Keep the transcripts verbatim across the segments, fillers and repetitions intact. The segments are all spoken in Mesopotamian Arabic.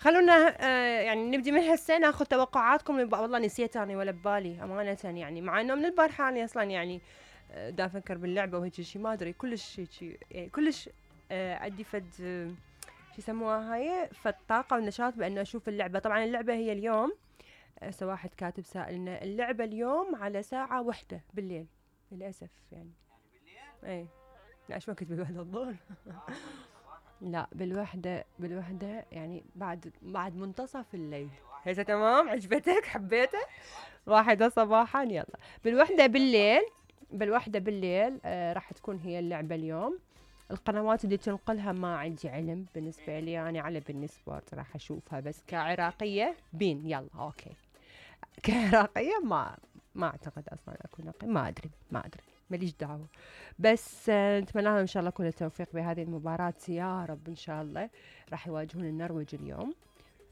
خلونا آه يعني نبدي من هسه ناخذ توقعاتكم. والله نسيت انا ولا ببالي امانه، يعني مع انه من البارحه انا اصلا يعني آه دا افكر باللعبه وهيك شيء، ما ادري كلش هيك يعني كلش آه عندي فد آه شو يسموها هاي فد طاقه ونشاط بانه اشوف اللعبه. طبعا اللعبه هي اليوم، هسه واحد كاتب سائلنا اللعبه اليوم على ساعه واحدة بالليل للاسف يعني. اي لا شو وقت بالوحدة الظهر لا بالوحدة بالوحدة يعني بعد بعد منتصف الليل. هسه تمام عجبتك حبيته؟ واحدة صباحا يلا بالوحدة بالليل. بالوحدة بالليل آه راح تكون هي اللعبة اليوم. القنوات اللي تنقلها ما عندي علم بالنسبة لي يعني، على بالنسبة راح أشوفها بس كعراقية بين يلا أوكي. كعراقية ما ما أعتقد أصلا أكون نقي، ما أدري ما أدري ماليش دعوة. بس آه نتمنى لهم إن شاء الله كل التوفيق بهذه المباراة يا رب. إن شاء الله راح يواجهون النرويج اليوم،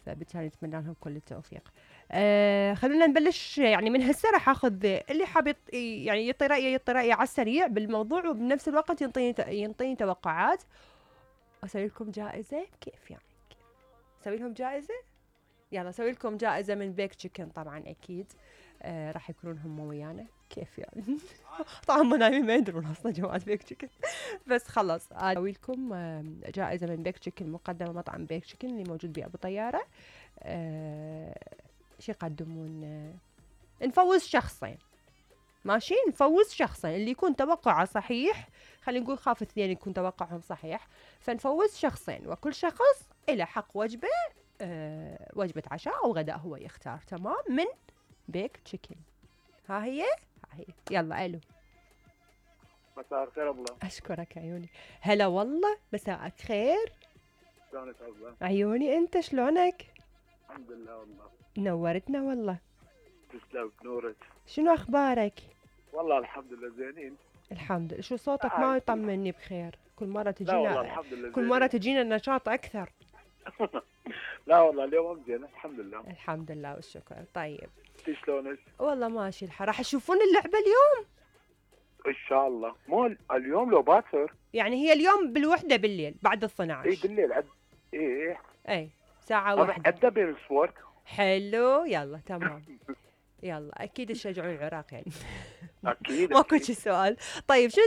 فبالتالي نتمنى لهم كل التوفيق. آه خلونا نبلش يعني من هسه. راح اخذ اللي حاب يعني يعطي رايه يعطي رايه على السريع بالموضوع، وبنفس الوقت ينطيني ينطيني توقعات. اسوي لكم جائزه كيف يعني؟ اسوي لهم جائزه؟ يلا اسوي لكم جائزه من بيك تشيكن طبعا اكيد. آه راح يكونون هم ويانا كيف يعني. طبعا هم نايمين ما يدرون اصلا جماعه بيك تشيكن، بس خلص اسوي لكم آه جائزه من بيك تشيكن مقدمه مطعم بيك تشيكن اللي موجود بابو طياره. آه شي يقدمون آه نفوز شخصين ماشي، نفوز شخصين اللي يكون توقعه صحيح. خلينا نقول خاف اثنين يكون توقعهم صحيح، فنفوز شخصين وكل شخص له حق وجبه آه وجبه عشاء او غداء هو يختار. تمام من بيك تشيكن. ها هي ها هي يلا الو. مساء الخير ابله. اشكرك عيوني. هلا والله مساءك خير. شلونك ابله؟ عيوني انت شلونك؟ الحمد لله والله. نورتنا والله. تسلم نورك. شنو اخبارك؟ والله الحمد لله زينين. الحمد لله. شو صوتك ما يطمني بخير؟ كل مرة تجينا لا والله الحمد لله كل مرة تجينا نشاط اكثر. لا والله اليوم زين الحمد لله. الحمد لله والشكر. طيب انت شلونك؟ والله ماشي الحال. راح تشوفون اللعبة اليوم ان شاء الله. مو اليوم لو باكر يعني. هي اليوم بالوحدة بالليل بعد اثني عشر. اي بالليل عد اي اي اي ساعة واحدة. ابدا بين الصور. حلو يلا تمام. يلا اكيد تشجعون العراق يعني. اكيد ماكو شي سؤال. طيب شو